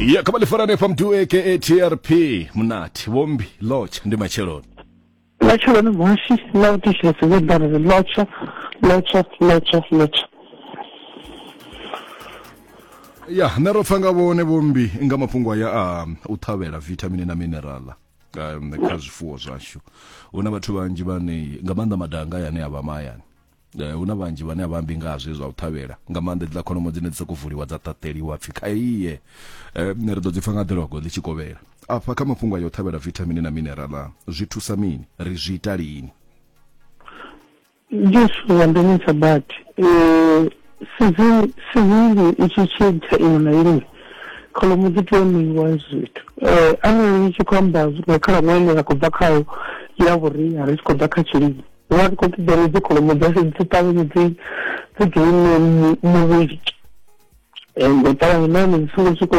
Ya kha vha ḽi fha mdu aka TRP Munati Vhombi Lotsha ndi matsheloni. Matsheloni muhashi na u thetshelesa vho ḓa ri lotsha lotsha lotsha lotsha. Ya nṋe ro pfa nga vhone Vhombi nga mafhungo aya a u ṱhavhela vithamini na minerala kha zwifuwo zwashu. Hu na vhathu vhanzhi vhane nga maanḓa madanga aya ane a vha mahayani hu na vhanzhi vhane a vha ambi nga zwe zwa u ṱhavhela nga maanḓa hedziḽa kholomo dzine dzi sokou vuliwa dza ṱaṱeliwa pfhi kha iye ri ḓo dzi pfa nga ḓilogo ḽi tshi kovhela afha kha mafhungo ayo u ṱhavhela vithamini na minerala zwi thusa mini ri zwi ita lini? Ndi zwithu zwa ndemesa badi sizini i tshi tshintsha iṅwe na iṅwe kholomo dzi tea u ṋeiwa hezwi zwithu arali ni tshi khou amba nga khalaṅwaha ine ra khou bva khayo ya vhuria ri tshi khou ḓa kha tshilimo vha ri khou ṱoḓa uri dzi kholomo dzashu dzi ṱavhanye dzi dzi gaine muvhili nga u ṱavhanya nahone dzi songo swika.